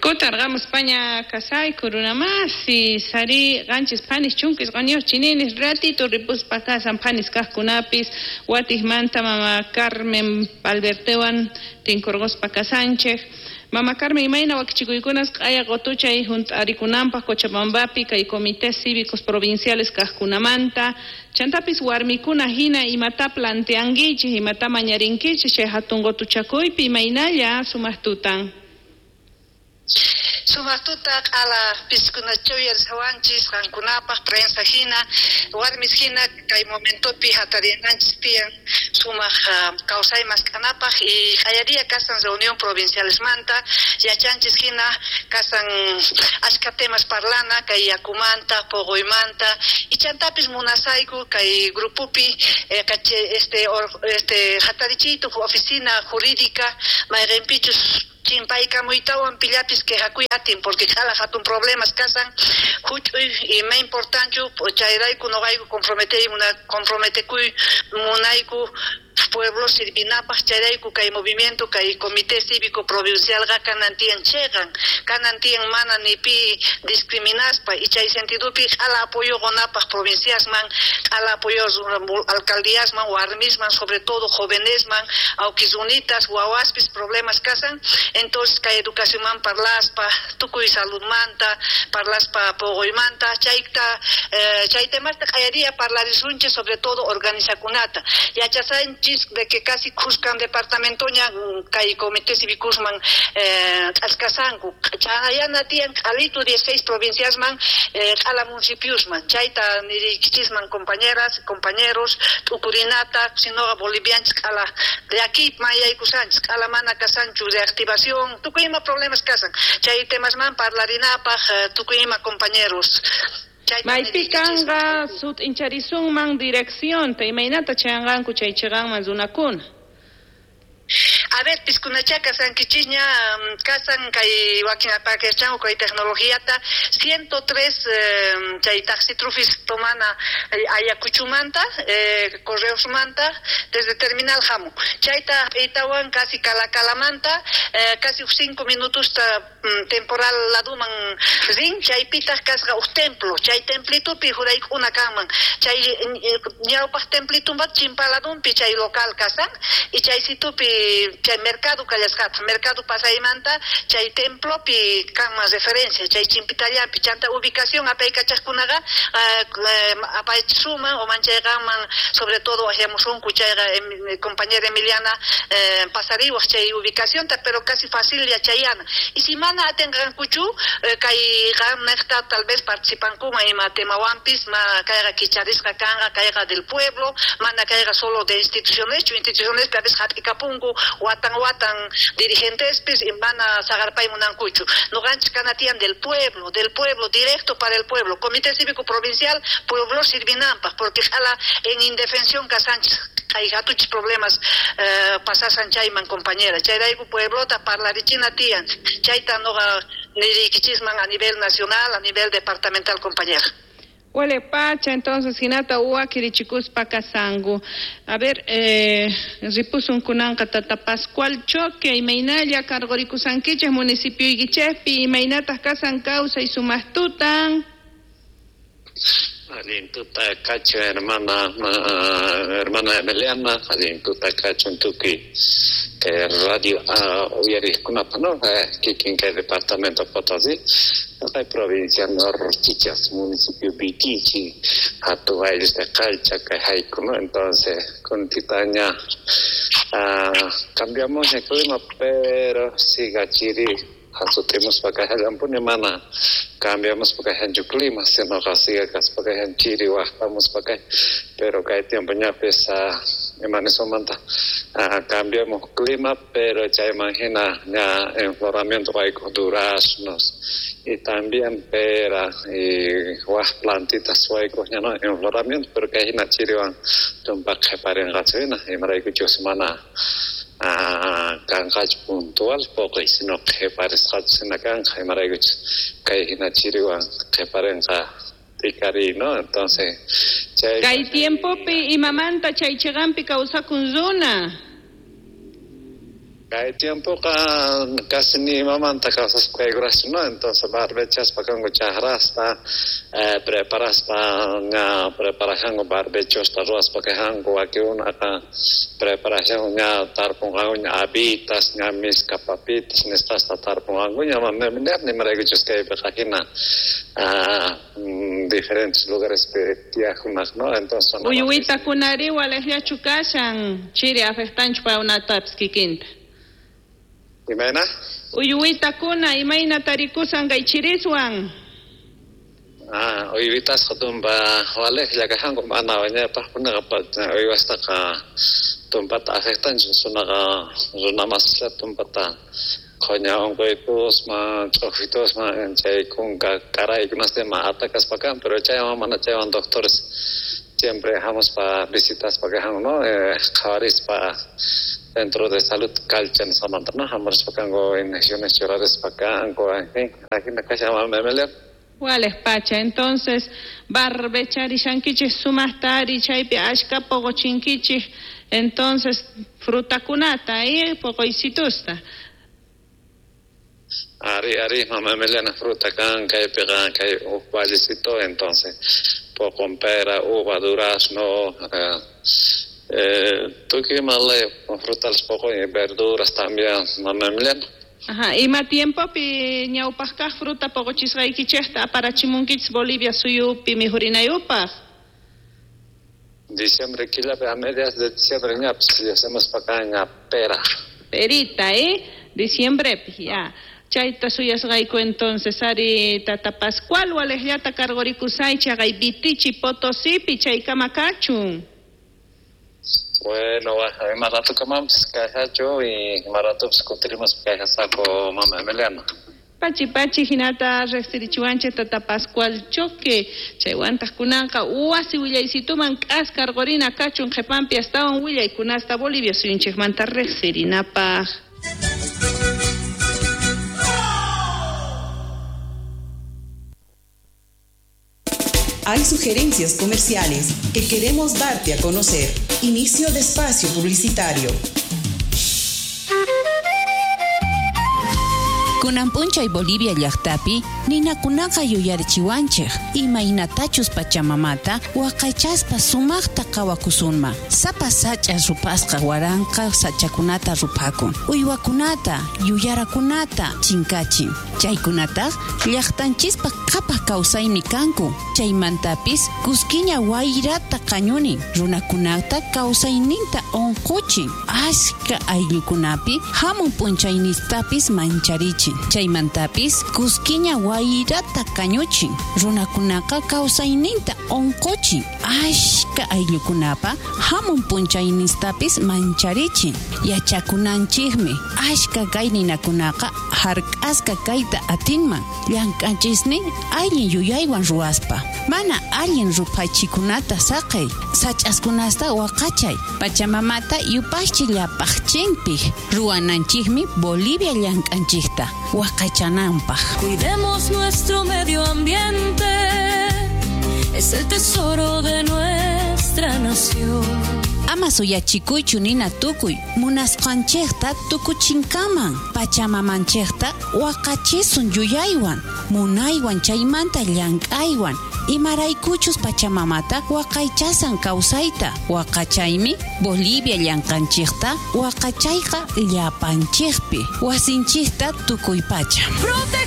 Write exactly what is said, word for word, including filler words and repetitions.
Kutarqamuspaña kasayku runamasi sari qanchis phanis chunka isquniyuq chininis ratito ripuspa kasan phanis kaqkunapis watiqmanta mama Carmen Albertewan tinkurquspa kasanchik. Mama Carmen, imayna wakichikuykunas q'aya qutuchay hunt'arikunanpaq Cochabambapi kay comités cívicos provinciales kaqkunamanta chantapis warmikuna hina imata planteankichik imata mañarinkichik chay hatun qutuchakuypi imaynalla sumaq tutan. Sumaq tuta q'ala piskunachaw yarsawanchis qankunapaq prensa hina warmis hina kay momentopi hatarinanchis tiyan sumaq uh, kawsay mask'anapaq y q'ayaria kasan reunión provincialesmanta yachanchis hina kasan achka temas parlana kay yakumanta puquymanta y chantapis munasayku kay grupopi eh, kache, este or, este hatarichiytu oficina jurídica mayqinpichus chimpaykamuytawan pillapis quejakuy atin porque q'ala hatun problemas kasan huch'uy ima importanchu chayrayku nuqayku comprometey comprometekuy munayku pueblo sirvinapaq chayrayku kay movimiento kay comité cívico provincialqa kanan tiyan chiqan kanan tiyan mana ni pi discriminaspa y chay sentidopi q'ala apoyo qunapaq provinciasman q'ala apoyo alcaldíasman warmisman sobre todo jovenesman awkisunitas wawaspis problemas kasan entonces kay educacionman parlaspa tukuy saludmanta parlaspa puquymanta chayta eh, chay temasta q'ayaria parlarisunchik sobre todo organizakunata yachasanchis de que casi khuskan departamentoña kay comité cívicosman eh, k'askasanku chayana tiyan q'alitu dieciséis provinciasman eh, q'ala municipiosman chayta niriykichisman compañeras compañeros t'ukurinata sinoqa bolivianchis q'ala llakiypi mayaykusanchis q'ala mana kasanchu reactivación tukuy ima problemas kasan chay temasman parlarinapaq tukuy ima compañeros. Maypi kanqa sut'incharisunman direccionta imaynata chayanqanku chay chiqanman runakuna. A ver, piskunacha kasankichisña kasan kay wakin apakachanku kay tecnologiata ciento tres eh, chay taxi trufis tomana Ayacuchumanta eh, Correosmanta desde terminal hamu chayta itawan casi Calacalamanta eh, casi cinco minutos ta, temporal laduman rin chaypitaq kasqa uj templo chay templitupi juraykuna kanman chay ñawpaq templitumbat chimpaladunpi chay local kasan y chay situpi chay mercado kallasqata mercado pasaymanta chay templopi kanman referencia chay chimpitallampi chanta ubicación apaykachaqkunaqa uh, apaychisuman o manchayqanman sobre todo ahiamusunku chayqa em, compañera Emiliana eh, pasariwaq chay ubicacionta pero casi fácil yachayana y si mana atinqankuchu eh, kay qamnaqta tal vez participankuman ima temawanpis ma kayqa kicharisqa kanqa kayqa del pueblo mana kayqa solo de instituciones chu instituciones a veces hap'ikapunku watan watan dirigentespis y mana saqarpay munankuchu nuqanchis kanatiyan del pueblo del pueblo directo para el pueblo comité cívico provincial pueblo sirvinanpaq porque q'ala en indefensión kasanchis hay hatuchis problemas eh, pasasan chayman compañera chayrayku pueblota parlarichina tiyan chayta nuqa niriykichisman a nivel nacional a nivel departamental compañera. Huele pacha, entonces, hinata uwakirichikuspa kasanku. A ver, eh, ripusun kunanqa tata Pascual Choque, imaynalla cargorikusankichik municipio Iguichespi, imaynataq kasan kawsay sumaqtutan. Allin tuta kacho hermana uh, hermana Emiliana, allin tuta kacho tukuy eh, radio uh, uyariqkunapa no eh, kikin kay departamento Potosí kay provincia Norchichas municipio Vitichi hatun ayllus de Qalcha kay hayku no entonces kuntitaña uh, cambiamos el clima pero siga chiri hasutimuspa kay mana cambiamos porque hanchu clima sino siga kaspa kay chiri waqtamuspa kay pero kay tiempo ñapis imanisumanta cambiamos clima pero chayman hina ña enfloramiento waykuq duraznos y también pera y waq plantitas waykuq ña no enfloramiento pero kay hina chiriwan tumpa qhiparinqachu hina imaraykuchus mana kanqachu puntual puquy sino qhiparisqachu hina kanqa imaraykuchus kay hina chiriwan qhiparinqa t'ikariy no entonces chay kay tiempopi imamanta chay chiqanpi kawsakun runa. Kay tiempoqa casi ni imamanta kawsaspa kaykuraschu, ¿no? Entonces barbechaspa kanku chakrasta, eh, preparaspa ña preparajanku barbechosta ruwaspa kajanku wakinkunaqa preparajanku ña tarpunqanku ña habitas, ña miska papitas nisqasta tarpunqanku ña imaraykuchus kaypiqa hina ah, diferentes lugares tiyaqkunaq, ¿no? Entonces Uyuwitakunari waliqllachu kashan chiri afectanchu paykunatapis kikinta. Imayna? Uyuwitakuna imayna tarikusan kay chiriswan. Ah, uyuwitasqa tumpa waliqlla kajanku mana wiñaypaqkunaqa uywastaqa tumpata afectanchu sunaqa runa masislla tumpata qhuña unquytusman ch'uquytusman chay kunka karaykunasta ima atakaspa kan, pero chaywan mana chaywan doctores siempre hamuspa visitaspa kajanku, ¿no? Eh, qhawarispa Centro de Salud Calcha nisqamanta, ¿no? Hamurispa kanku inyecciones churarispa kanku, en fin, ajina kashan mama. Waliq pacha, entonces barbecharishankichik sumaqta ari chaypi ashka puquchinkichik, entonces frutakunata y puquycitusta. Ari, ari, mama Emiliana, fruta kan, kaypiqa kay huk vallecito, entonces poqon pera, uva, durazno, eh, eh, tukuy ima laya frutales poqon y verduras también, mama Emiliana. Ajá, ima tiempopi ñawpaq kaq fruta puquchisqaykichikta aparachimunkichis Bolivia suyupi mijurinayupaq? Diciembre killapi, a mediados de diciembre ñapis hacemos pa acá ña pera. Perita, eh? Diciembre, ya. Chayta suyasqayku entonces ari tata Pascual waliqllata cargorikusay chaqay Vitichi Potosipi chaykama kachun. Bueno, ima rato kamampis kajachu y ima ratopis kutirimuspa kajasaqu mama Emiliana. Pachi pachi hinata riqsirichiwanchik tata Pascual Choque chaywantaq kunanqa wasi willaysituman k'askarqurina kachun qhipanpi astawan willaykunasta Bolivia suyunchikmanta riqsirinapaq. Hay sugerencias comerciales que queremos darte a conocer. Inicio de espacio publicitario. Kunan p'unchay Bolivia llaqtapi ninakunaqa yuyarichiwanchik imaynatachus pachamamata waqaychaspa sumaqta qawakusunman. Sapa sach'a rupasqa waranqa sachakunata rupakun, uywakunata, yuyarakunata chinkachin. Chaykunataq llaqtanchispa qhapaq kawsaymi kanku. Chaymantapis kuskiña wayrata qañunin, runakunata kawsayninta unquchin. Ashka ayllukunapi hamun p'unchaynistapis mancharichin. Chaymantapis kuskiña wayrata kañuchin, runakunaqa kawsayninta unquchin. Ashka ayllukunapa hamun p'unchaynistapis mancharichin. Yachakunanchikmi ashka kay ninakunaqa hark'asqa kayta atinman llank'anchisnin allin yuyaywan ruwaspa. Mana allin ruphachikunata saqay, sach'askunasta waqachay, pachamamata yupaychi llapaqchinpik ruwananchikmi Bolivia llank'anchikta waqachananpaq. Cuidemos nuestro medio ambiente, es el tesoro de nuestra nación. Ama suyachikuychu nina tukuy, munasqanchikta tukuchinkaman, pachamamanchikta waqachisun yuyaywan, munaywan chaymanta llank'aywan, imaraykuchus pachamamata waqaychasan kawsayta, waqachaymi Bolivia llank'anchikta waqachayqa llapanchikpi, wasinchikta tukuy pacha. Protege